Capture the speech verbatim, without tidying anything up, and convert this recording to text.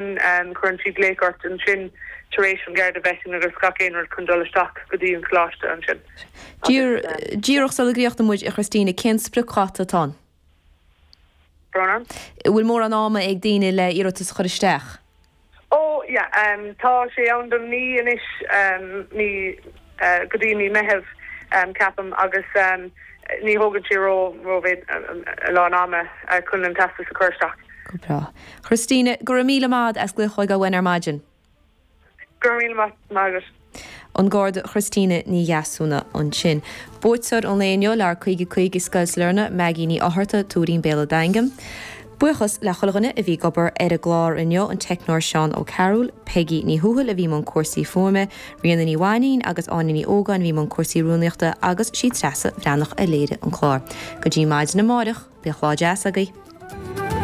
Cuireann siad glaoch ort ansin tar éis an Garda vetting agus gach aon rud chun dul isteach go dtí an coláiste ansin. Díreach sula gcríochnóidh muid a Christina cén spriocdháta atá ann? Brona? Bhfuil mórán ama ag daoine le iarratas a chur isteach? Ó yeah um, tá sé ann don mí anois um, mí uh, go dtí mí Meitheamh um, ceapaim agus um, ní thógann sé ró ró a lán ama uh, chun an teastas a chur isteach. Go breá. Christina, go raibh míle maith as glaoch chugainn ar maidin. Go raibh míle maith agat. An Garda Christina Ní Dheasúna ansin. Buaiteoir an lae inniu le caoga caoga Scoil Sailearna Maggie Ní Fhátharta Tuairín Béal an Daingin. Buíochas le chuile dhuine a bhí ag obair ar an gclár inniu an teicneoir Seán O'Carroll, Peggy Ní Thuathail a bhí i mbun cúrsaí fuaime, Ríona Ní Mhainín agus Áine Ní Ógáin a bhí i mbun cúrsaí rúnaíochta agus sí Treasa Bhreathnach a léirigh an clár. Go dtí maidin amárach, bíodh lá deas agaibh.